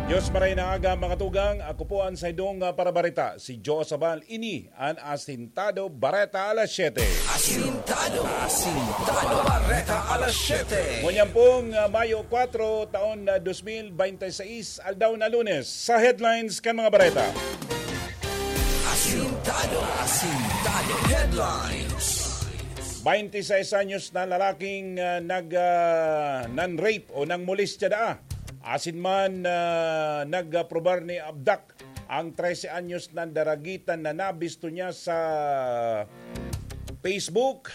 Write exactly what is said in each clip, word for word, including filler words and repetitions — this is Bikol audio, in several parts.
Diyos maray na aga, mga tugang. Ako po ang saindong, ah, parabareta, si Joe Sabal. Ini an Asintado Bareta alas siyete. Asintado, Asintado Bareta alas siyete. Ngunyan pong, ah, Mayo kwatro, taon na dos mil bente seis, aldaw na Lunes. Sa headlines kan mga bareta. Asintado, Asintado Headlines. Bainti seis anyos na lalaking, ah, nag, ah, nan-rape o nangmolestya daa. Asin man, ah, nag-aprobar ni abdak ang trese anyos na daragitan na nabisto niya sa Facebook.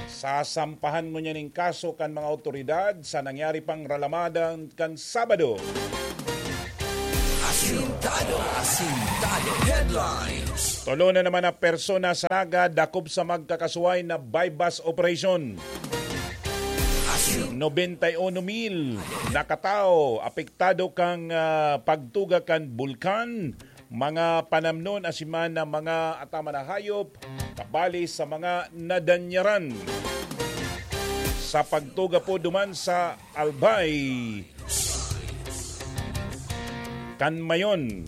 Sasampahan ngunyan nin kaso kan mga awtoridad sa nangyari pang ralamadan kan Sabado. Asintado, Asintado Headlines. Tolo na naman na persona sa Naga dakop sa magkakasuway na buy-bust operation. Asin- Nobenta y uno mil na katao apektado kan, ah, pagtuga kan bulkan, mga panamnon asin man na mga ataman na hayop, kabali sa mga nadanyaran sa pagtuga po duman sa Albay kan Mayon.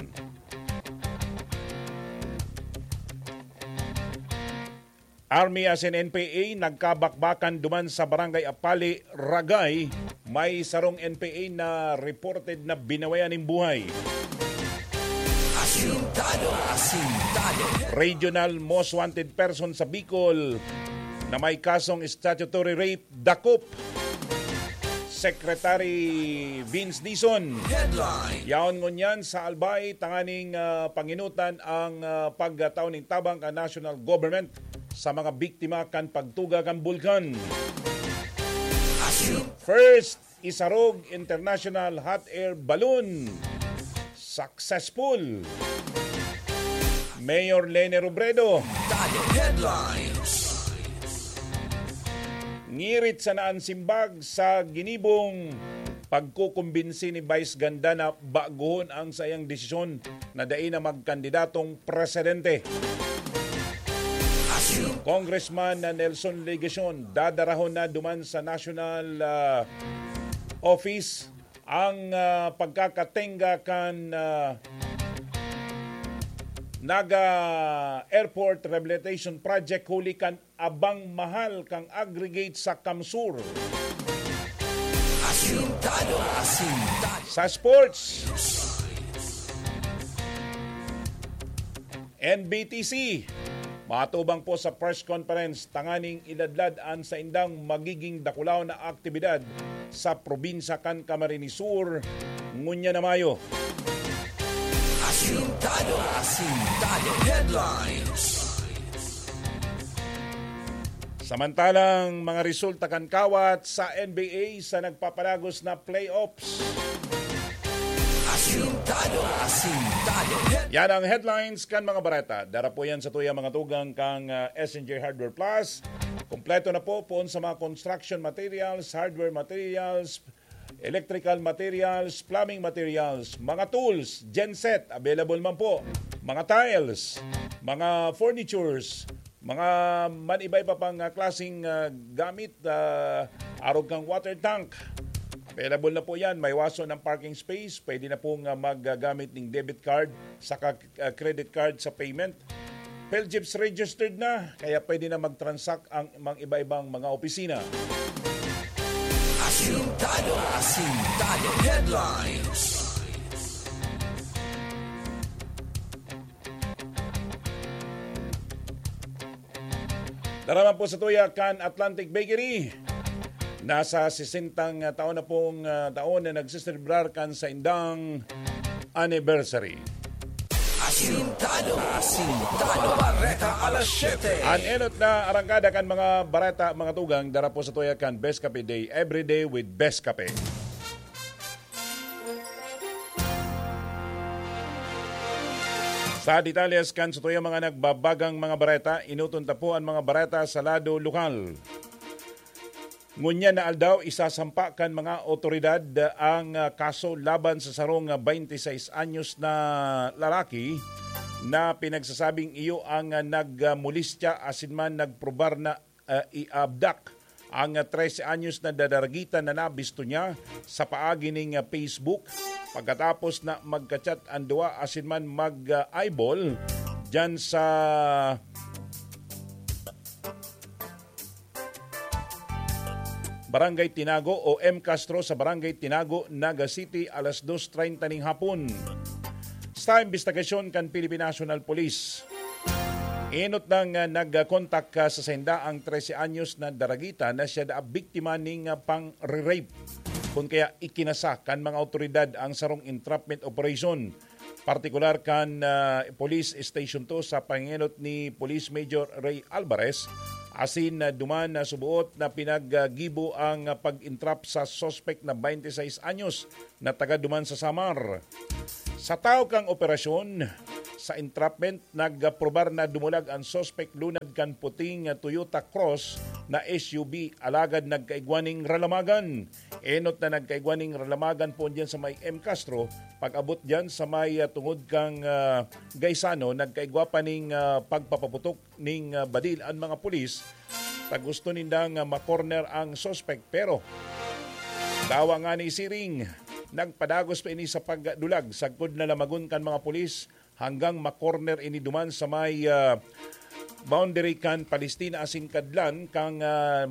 Army asin N P A nagkabakbakan duman sa Barangay Apali, Ragay. May sarong N P A na reported na binawayan nin buhay. Asintado, Asintado. Regional Most Wanted Person sa Bicol na may kasong statutory rape, dakop. Secretary Vince Dizon. Headline. Yaon ngunyan sa Albay, tanganing, ah, panginutan ang, ah, pagtao nin tabang kan national government sa mga biktima kan pagtuga kan bulkan. Asyo. First Isarog International Hot Air Balloon. Successful. Mayor Leni Robredo. Tayo Headlines. Ngirit sana an simbag sa ginibong pagkukumbinsi ni Vice Ganda na bagohon ang saiyang desisyon na dai na magkandidatong presidente. Congressman na Nelson Legacion, dadarahon na duman sa National, ah, Office ang, ah, pagkakatenga kan, ah, Naga Airport Rehabilitation Project huli kan abang mahal kan aggregate sa CamSur. Asintado, asintado. Sa sports, N B T C, matubang po sa press conference tanganing iladlad an saindang magiging dakulaw na aktibidad sa probinsya kan Camarines Sur ngunyan na Mayo. Asintado, Asintado Headlines. Samantalang mga resulta kan kawat sa N B A sa nagpapadagos na playoffs. Asintado, Asintado Headlines. Yan ang headlines kan mga bareta. Dara po yan sa tuya mga tugang kan, ah, S N J Hardware Plus. Kompleto na po, poon sa mga construction materials, hardware materials, electrical materials, plumbing materials, mga tools, genset, available man po, mga tiles, mga furnitures, mga man-iba-iba pang, ah, klaseng, ah, gamit, ah, arog kang water tank. Available na po yan. May waso ng parking space. Pwede na pong, ah, maggamit ng debit card saka, ah, credit card sa payment. PhilGIPS registered na, kaya pwede na mag-transact ang mga iba-ibang mga opisina. Asintado, Asintado Headlines. Dara man po sa tuya kan Atlantic Bakery. Nasa sesentang taon na pong, ah, taon na nagseselebrar kan saindang anniversary. Asintado, Asintado Bareta alas siyete. An enot na arangkada kan mga bareta, mga tugang, dara po sa tuya kan Best Cafe Day, every day with Best Cafe. Sa detalles kan sa tuya mga nagbabagang mga bareta, inuton ta po an mga bareta sa lado lokal. Ngunyan na aldaw, isasampa kan mga awtoridad ang, ah, kaso laban sa sarong, ah, twenty-six anyos na lalaki na pinagsasabing iyo ang, ah, nagmolestya asin man nagprobar na, ah, iabdak ang, ah, trese anyos na dadaragitan na nabisto niya sa paagi ning, ah, Facebook pagkatapos na magka-chat ang duwa asin man mag, ah, eyeball diyan sa Barangay Tinago o M Castro sa Barangay Tinago, Naga City, alas dos treinta ning hapon. Sa imbestigasyon kan Philippine National Police, enot nang, ah, nagkontak, ah, sa sainda ang trese anyos na daragita na siya daa biktima ning, ah, pang-rape. Kun kaya ikinasa kan mga awtoridad ang sarong entrapment operation, partikular kan, ah, Police Station two sa pangenot ni Police Major Ray Alvarez, asin, ah, duman na subuot na pinaggibo ang, ah, pag-entrap sa suspect na twenty-six anyos na taga duman sa Samar. Sa taw kang operasyon, sa entrapment, nagprobar na dumulag ang suspect lunad kan puting Toyota Cross na S U V, alagad nagkaigwa ning ralamagan. Enot na nagkaigwa ning ralamagan po diyan sa may M Castro. Pag-abot diyan sa may, ah, tungod kang, ah, Gaisano, nagkaigwa pa ning, ah, pagpapaputok ning, ah, badil ang mga pulis ta gusto nindang, ah, makorner ang suspect. Pero dawa nga ni siring, nagpadagos pa ini sa pagdulag sagkod na lamagon kan mga pulis hanggang makorner ini duman sa may, ah, boundary kan Palestina asin kadlan kang, ah,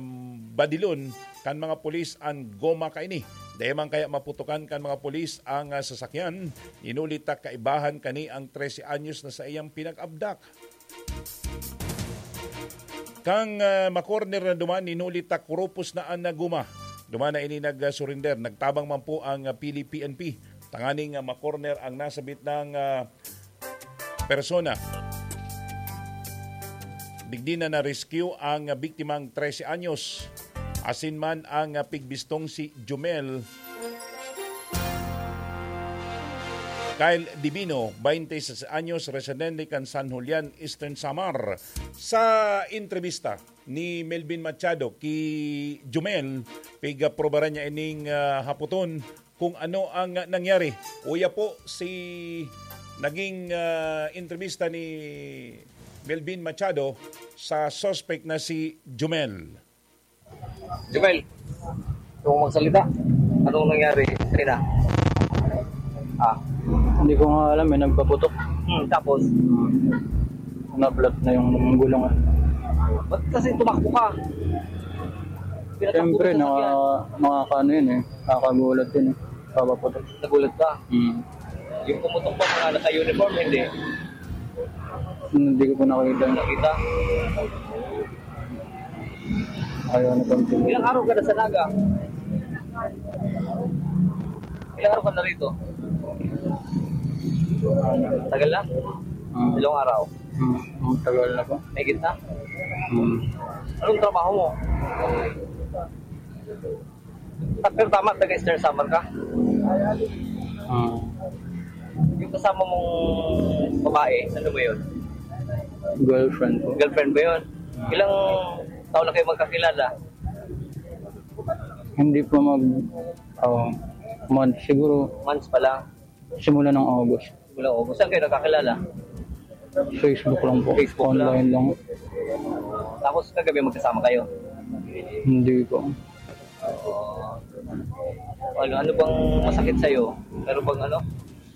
badilon kan mga pulis an goma kaini. Dai man kaya maputokan kan mga pulis ang, ah, sasakyan, inuli ta kaibahan kani ang trese anyos na saiyang pinag-abdak. Kang, ah, makorner na duman, inuli ta kurupos na an goma. Duman na ini nag-surrender. Nagtabang man po ang, ah, Pili P N P tanganing, ah, makorner ang nasabit ng, ah, persona. Digdi na na-rescue ang biktimang trese anyos, asin man ang pigbistong si Jumel Kyle Divino, twenty-six anyos, residente kan San Julian, Eastern Samar. Sa entrebista ni Melvin Machado ki Jumel, pigprobaran niya ining, ah, haputon kung ano ang, ah, nangyari. Uya po si naging, ah, entrebista ni Melvin Machado sa suspect na si Jumel. Jumel, gusto mo magsalita? Anong nangyari kanina? Ah, Hindi ko nga alam, may nagpaputok. Hmm, tapos? Na-flat na yung gulong. Ba't kasi tumakbo ka? Pinatakbo Siyempre, mo sa naka, sasakyan. Nakakaano yun eh. Nakakagulat yun eh. Papaputok. Nagulat ka? Hmm. Yung pumutok ba, mga naka-uniform, hindi? Hindi ko po nakita. Nakita? Ayaw na pang Ilang araw ka na sa Naga? Ilang araw ka na rito? Tagal na? Hmm. Ilang araw? Hmm. Ang tagal na po. May gitna? Hmm. Anong trabaho mo? Ah, pero tama, taga Eastern Samar ka? Hmm. Yung kasama mong babae, ano ba yun? Girlfriend po. Girlfriend ba yun? Ilang taon na kayo magkakilala? Hindi po mag, oh, month. Siguro Months pa lang. Simula ng August. Simula August. Saan kayo nagkakilala? Facebook lang po. Facebook lang. Online lang. Tapos kagabi magkasama kayo? Hindi po. Ano, ano bang masakit sa'yo? Pero bang ano?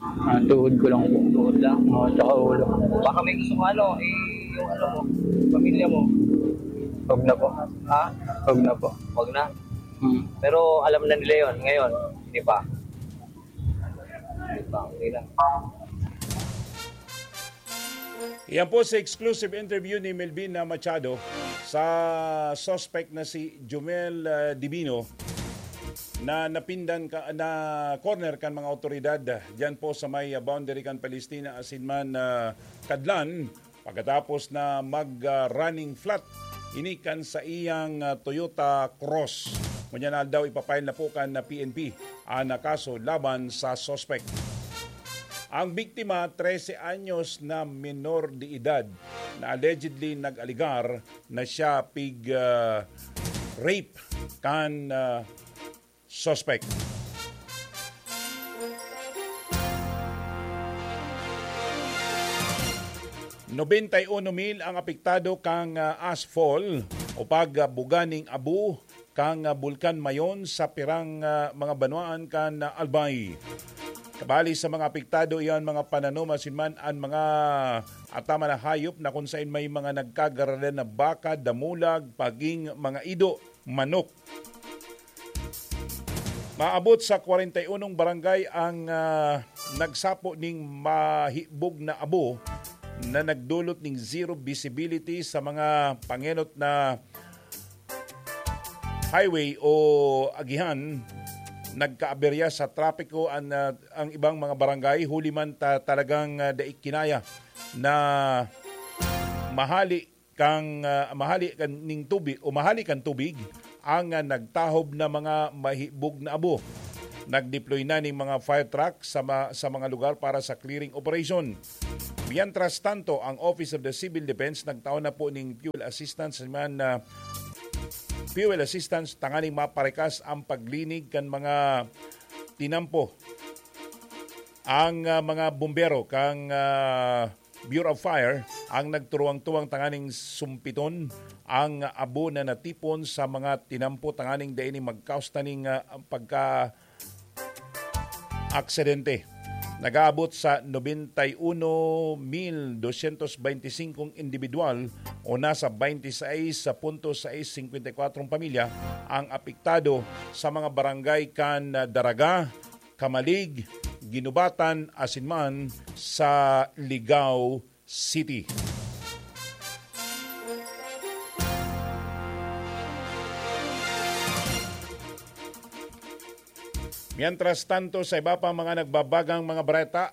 Ah, tuhod ko lang po. Tuhod lang? Oo, tsaka ulo. Baka may gusto mo ano, eh, yung ano mo, pamilya mo. Huwag na po. Ha? Huwag na po. Huwag na? Hmm. Pero alam na nila yon ngayon, di ba? Di ba? Okay lang. Yan po si exclusive interview ni Melvin na Machado sa suspect na si Jumel, ah, Divino na napindan ka, na corner kan mga otoridad, ah, diyan po sa may, ah, boundary kan Palestina asin man, ah, Kadlan, pagkatapos na mag, ah, running flat ini kan sa iyang, ah, Toyota Cross. Ngunyan aldaw ipapile na po kan, ah, P N P ang kaso laban sa suspect. Ang biktima, trese anyos na menor de edad, na allegedly nag-alegar na siya pig, ah, rape kan, ah, suspect. Nobenta y uno mil ang apektado kang, ah, ashfall o pagbuga ning abo kan, ah, Bulkan Mayon sa pirang, ah, mga banwaan kan, ah, Albay. Kabali sa mga apektado, iyan mga pananom asin man an mga ataman na hayop na kung sain may mga nagkagaradan na baka, damulag, paging, mga ido, manok. Maabot sa kwarenta y unong barangay ang, ah, nagsapo ning mahibog na abo na nagdulot ning zero visibility sa mga pangenot na highway o agihan. Nagkaaberya sa trapiko ang, ah, ang ibang mga barangay, huli man ta, talagang, ah, dai kinaya na mahali kang, ah, mahali kan ning tubig o mahali kan tubig ang, ah, nagtahob na mga mahibog na abo. Nagdeploy na ning mga fire truck sa ma-, sa mga lugar para sa clearing operation. Mientras tanto, ang Office of the Civil Defense nagtao na po ning fuel assistance man, ah, fuel assistance tanganing maparikas ang paglinig kan mga tinampo. Ang, ah, mga bumbero kang, ah, Bureau of Fire ang nagturuwang-tuwang tanganing sumpiton ang abo na natipon sa mga tinampo tanganing dai ni magkaos taning, ah, pagka aksidente. Nag-aabot sa nobenta y uno mil dosyentos beintisinko individual o nasa baintisais punto sais singkwenta y kwatro pamilya ang apektado sa mga barangay kan Daraga, Camalig, Guinobatan asin man sa Ligao City. Mientras tanto, sa iba pang mga nagbabagang mga bareta,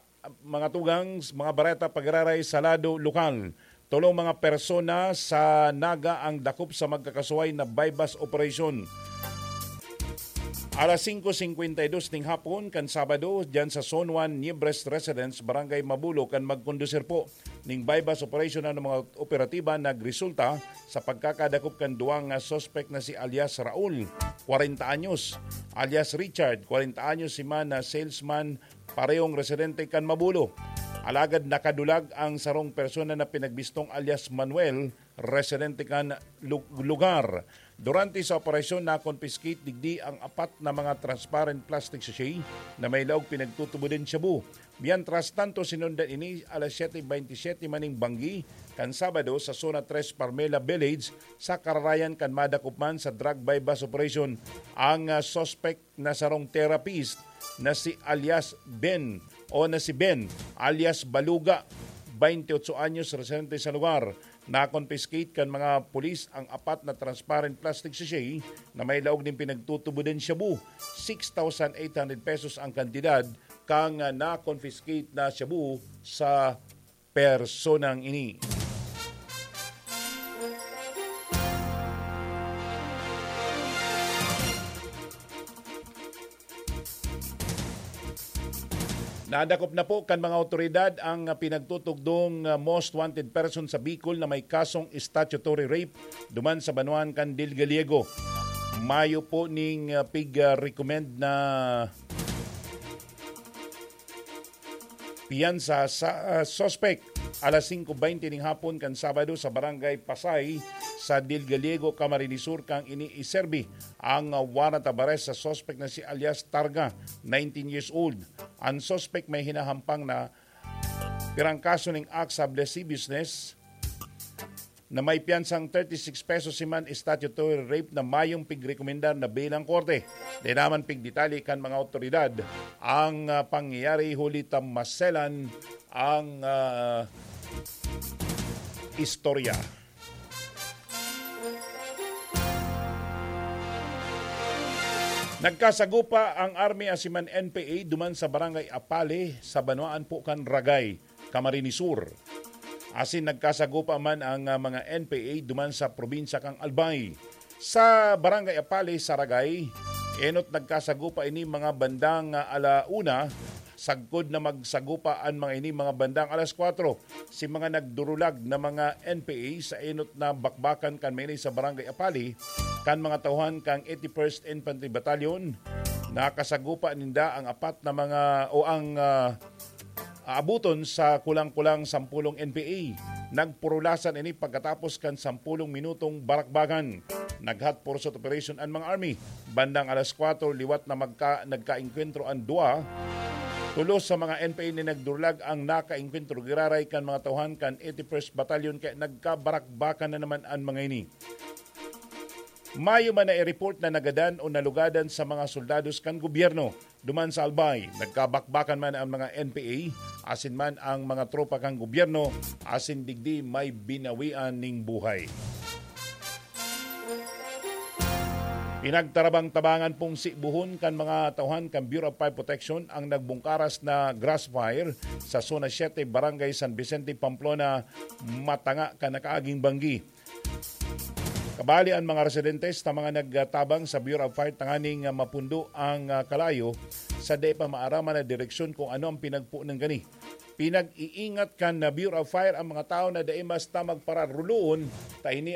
mga tugang, mga bareta pagiraray sa lado lokal, tolong mga persona sa Naga ang dakop sa magkakasuway na buy-bust operation. Alas singko singkwenta y dos ning hapon kan Sabado, diyan sa Zone one, Niebres Residence, Barangay Mabulo, kan magkondusir po ning buy-bust operation ang mga operatiba nagresulta sa pagkakadakop kan duwang, ah, suspek na si alias Raul, kwarenta anyos, alias Richard, kwarenta anyos, si man na salesman, parehong residente kan Mabulo. Alagad nakadulag ang sarong persona na pinagbistong alias Manuel, residente kan lu-, lugar. Durante sa operasyon, na-confiscate digdi ang apat na mga transparent plastic sachet na may laog pinagtutubod nin shabu. Mientras tanto, sinundan ini alas siyete bentisiete maning banggi kan Sabado sa Zona tres Parmela Village, sa kararayan kan madakop man sa drug buy-bust operation ang, ah, suspect na sarong therapist na si alias Ben o na si Ben alias Baluga, bainti otso anyos, residente sa lugar. Na-confiscate kan mga pulis ang apat na transparent plastic sachet na may laog nin pinagtutubod nin shabu. Six thousand eight hundred pesos ang kantidad kan na-confiscate na shabu sa personang ini. Nadakop na po kan mga awtoridad ang pinagtutugdong, ah, most wanted person sa Bicol na may kasong statutory rape duman sa banwaan kan Del Gallego. Mayo po ning, ah, pig, ah, recommend na piyansa sa, ah, suspek. Alas singko bente ning hapon kan Sabado sa Barangay Pasay sa Del Gallego, Camarines Sur, kan ini iserbi ang, ah, warrant of arrest sa suspek na si alias Targa, nineteen years old. Ang suspek may hinahampang na pirang kaso ning acts of lasciviousness na may piyansang thirty-six pesos si man statutory rape na mayong pigrekomendar na bail ang korte. Di naman pigdetalye kan mga awtoridad ang, ah, pangyayari huli ta maselan ang, ah, istorya. Nagkasagupa ang Army asin man N P A duman sa Barangay Apale sa banwaan po kan Ragay, Camarines Sur. Asin nagkasagupa man ang, ah, mga N P A duman sa probinsya kan Albay. Sa Barangay Apale sa Ragay, enot nagkasagupa ini mga bandang, ah, ala una, sagkod na magsagupa an mga ini mga bandang alas kwatro. Si mga nagdurulag na mga N P A sa enot na bakbakan kan maini sa Barangay Apale, kan mga tauhan kan eighty-first Infantry Battalion, nakasagupa ninda ang apat na mga, o ang, ah, aabuton sa kulang-kulang sampulong N P A. Nagpurulasan ini pagkatapos kan sampulong minutong barakbakan. Nag-hot pursuit operation an mga army. Bandang alas kwatro liwat na magka-, nagkaengkwentro an duwa. Tulos sa mga N P A nin nagdurlag ang nakaengkwentro giraray kan mga tauhan kan eighty-first Battalion, kaya nagkabarakbakan na naman an mga ini. Mayo man na i-report na nagadan o nalugadan sa mga soldados kan gobyerno. Duman sa Albay, nagkabakbakan man ang mga N P A, asin man ang mga tropa kan gobyerno, asin digdi may binawian ning buhay. Pinagtarabang-tabangan pong sibuhon kan mga tauhan kan Bureau of Fire Protection ang nagbungkaras na grass fire sa Zona siete, Barangay San Vicente, Pamplona, matanga kan nakaaging banggi. Kabali an mga residentes na mga nagtabang sa Bureau of Fire tanganing, ah, mapundo ang, ah, kalayo sa dai pa maaraman na direksyon kung ano ang pinagpunan kani. Pinag-iingat kan na Bureau of Fire ang mga tao na dai basta magpararuloon ta ini